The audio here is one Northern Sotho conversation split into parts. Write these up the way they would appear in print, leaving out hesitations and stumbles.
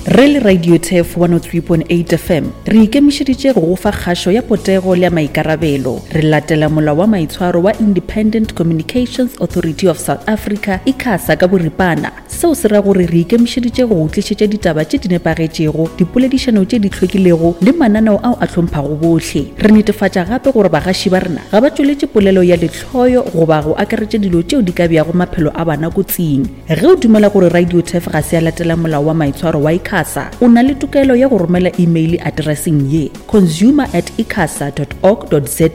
Re le Radio Turf 103.8 FM, re ikemišeditše go go fa kgašo ya potego le ya maikarabelo. Re latela molao wa maitshwaro wa Independent Communications Authority of South Africa, ICASA, ka boripana. Seo se ra gore re ikemišeditše go go tlišetša ditaba tše di nepagetšego, dipoledišano tše di hlwekilego le mananeo ao a hlomphago bohle. Re netefatša gape gore bagaši ba rena ga ba tšweletše polelo ya lehloyo goba go akaretša dilo tšeo di ka beago maphelo a bana kotsing. Ge o dumela gore Radio Turf ga se ya latela molao wa maitshwaro wa ICASA, o na le tokelo ya go romela imeile atereseng ye, consumer at icasa dot org dot za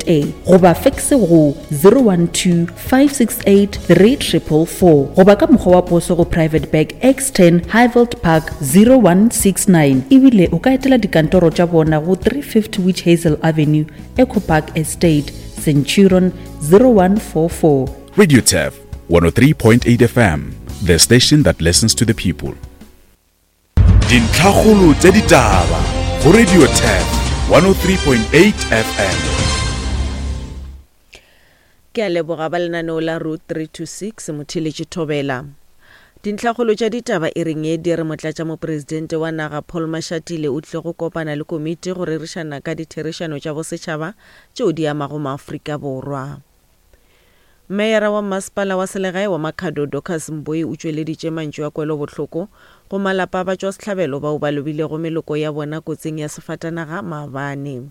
goba fekse go 012 568 3444 goba ka mokgwa wa poso go Private Bag X10 Highveld Park 0169 ebile o ka etela dikantoro tša bona go 350 Witch Hazel Avenue, Echo Park Estate, Centurion 0144. Radio Turf 103.8 FM, the station that listens to the people. Dintlhakgolo tša ditaba go Radio Turf 103.8 FM. Ke a leboga ba lenaneo la Route 326 Motheeletši Thobela. Dintlhakgolo tša ditaba e reng ye di re Motlatšamopresidente wa naga Paul Mashatile o tlile go kopana le komiti go rerišana ka ditherišano tša bosetšhaba tšeo di amago maAfrika Borwa. Meyara wa Mmasepala wa Selegae wa Makhado Dorcas Mboi o tšweleditše mantšu a kwelobohloko go malapa a batšwasehlabelo bao ba lobilego meloko ya bona kotsing ya sefatanaga maabane.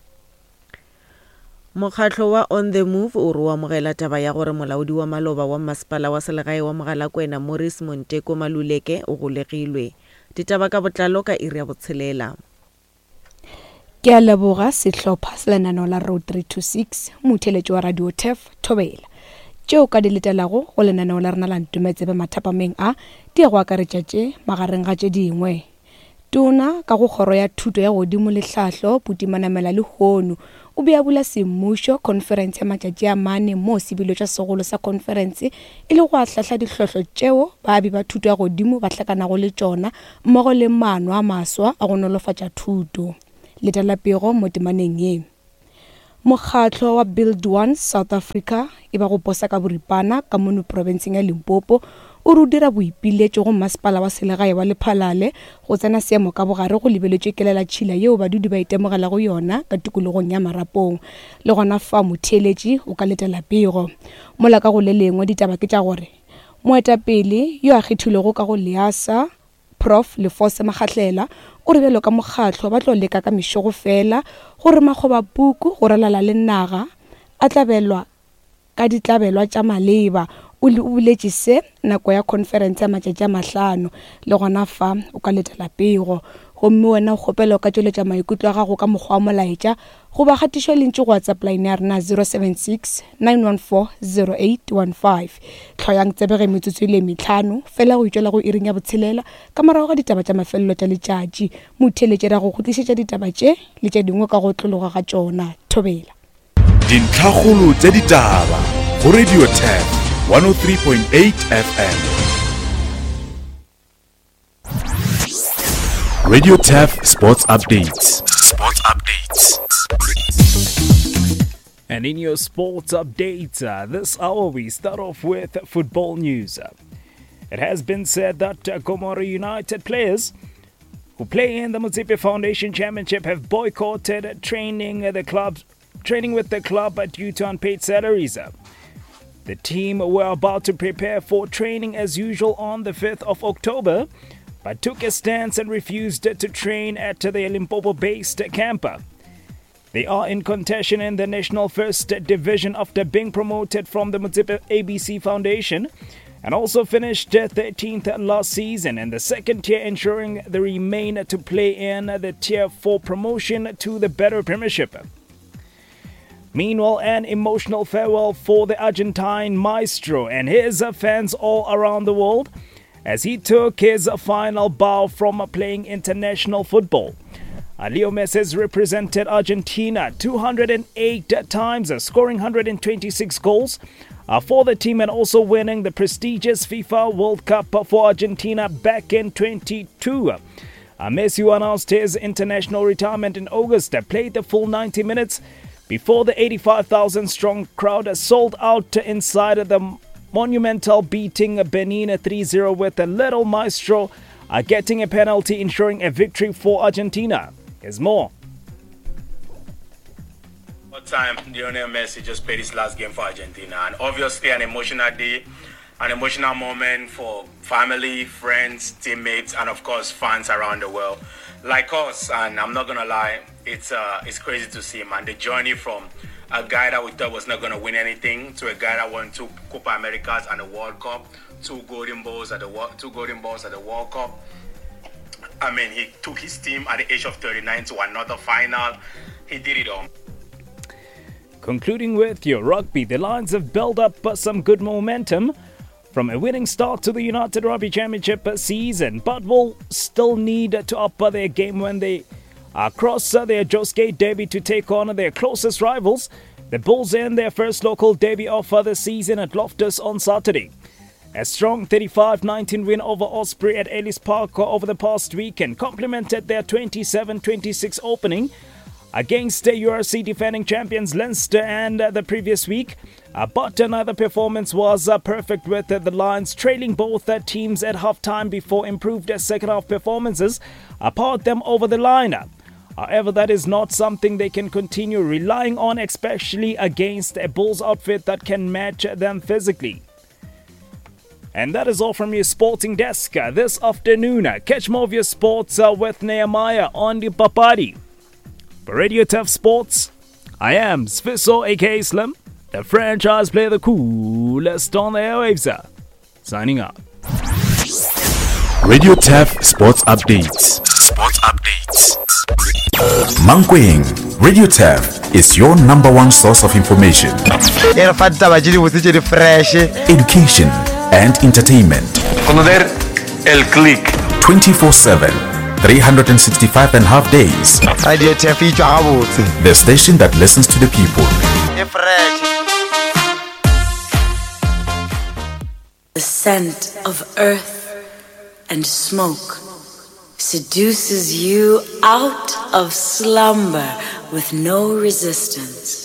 Mokgatlo wa On The Move o re o amogela taba ya gore molaodi wa maloba wa Mmasepala wa Selegae wa Mogalakwena Morris Monteko Maluleke o golegilwe. Ditaba ka botlalo ka iri ya botshelela. Ke a leboga sehlopha sa lenaneo la Road 326, motheeletši wa Radio Turf, Thobela. Tšeo ka di letelago go lenaneo la rena la Ntometsebe mathapameng a di ya go akaretša tše magareng ga tše dingwe. Tona ka go Kgoro ya Thuto ya Godimo le Tlhahlo, Buti Manamela lehono o be a bula semmušo khonferense ya matšatši a mane moo sebiletšwa segolo sa khonferense e le go ahlahla dihlohlo tšeo baabi ba thuto ya godimo ba hlakanago le tšona mmogo le maano a maswa a go nolofatša thuto. Letela pego mo temaneng ye. Mokgatlo wa Build One South Africa e ba go posa ka boripana ka mono profenseng ya Limpopo o re o dira boipiletšo go masepala wa selegae wa Lephalale go tsena seemo ka bogare go lebeletšwe kelelatšhila yeo badudi ba itemogelago yona ka tikologong ya Marapong. Le gona fa motheeletši o ka letela pego. Mola ka go le lengwe ditaba ke tša gore moetapele yo a kgethilwego ka go LEASA, Prof Lefose Makgahlela o re bjalo ka mokgatlo ba tlo leka ka mešogo fela gore makgobapuku go ralala le naga a tlabelwa ka ditlabelwa tša maleba. O o boletše se nako ya khonferense ya matšatši a mahlano. Le gona fa o ka letela pego. Gomme wena o kgopela o ka tšweletša maikutlo a gago ka mokgwa wa molaetša goba kgatišo ya lentšu go WhatsApp line ya rena 076 914 0815. Hloyang tsebe ge metsotso e le metlhano fela go itšwela go iring ya botshelela ka morago ga ditaba tša mafelelo tša letšatši. Motheeletši ra go go tlišetša ditaba tše le tše dingwe ka go otlologa ga tšona. Thobela. Dintlhakgolo tša ditaba go Radio Turf 103.8 FM. Radio Turf Sports Updates. Sports Updates. And in your sports updates, uh, this hour we start off with football news. It has been said that uh, Gomora United players who play in the Motsepe Foundation Championship have boycotted training the club, training with the club due to unpaid salaries. The team were about to prepare for training as usual on the 5th of October, but took a stance and refused to train at the Limpopo based camp. They are in contention in the National First Division after being promoted from the Motsepe ABC Foundation and also finished 13th last season in the second tier, ensuring they remain to play in the Tier 4 promotion to the Better Premiership. Meanwhile, an emotional farewell for the Argentine maestro and his fans all around the world as he took his final bow from playing international football. Leo Messi has represented Argentina 208 times, scoring 126 goals uh, for the team and also winning the prestigious FIFA World Cup for Argentina back in 22. Uh, Messi, who announced his international retirement in August, played the full 90 minutes before the 85,000 strong crowd sold out inside the Monumental beating Benin 3 0 with a little maestro getting a penalty, ensuring a victory for Argentina. Here's more. What time Lionel Messi just played his last game for Argentina, and obviously an emotional day, an emotional moment for family, friends, teammates, and of course fans around the world, like us. And I'm not gonna lie, it's it's crazy to see, man. The journey from a guy that we thought was not gonna win anything to a guy that won two Copa Americas and a World Cup, two Golden Balls at the two Golden Balls at the World Cup. I mean, he took his team at the age of 39 to another final. He did it all. Concluding with your rugby, the Lions have built up some good momentum from a winning start to the United Rugby Championship season, but will still need to up their game when they cross their Josgate derby to take on their closest rivals, the Bulls, in their first local derby of the season at Loftus on Saturday. A strong 35 19 win over Osprey at Ellis Park over the past weekend complemented their 27 26 opening against the URC defending champions Leinster and the previous week. But another performance was perfect with the Lions trailing both teams at halftime before improved second half performances powered them over the line. However, that is not something they can continue relying on, especially against a Bulls outfit that can match them physically. And that is all from your sporting desk this afternoon. Catch more of your sports with Nehemiah on the Papadi. For Radio Turf Sports, I am Sfiso aka Slim, the franchise player, the coolest on the airwaves. Signing up. Radio Turf Sports Updates. Sports Updates. Mankweng, Radio Turf is your number one source of information. E re fa ditaba tše dibotse tše di fresh. Education and entertainment. Conocer el click. 24/7, 365 and a half days. Radio Turf e tšwa gabotse. The station that listens to the people. E fresh. The scent of earth and smoke seduces you out of slumber with no resistance.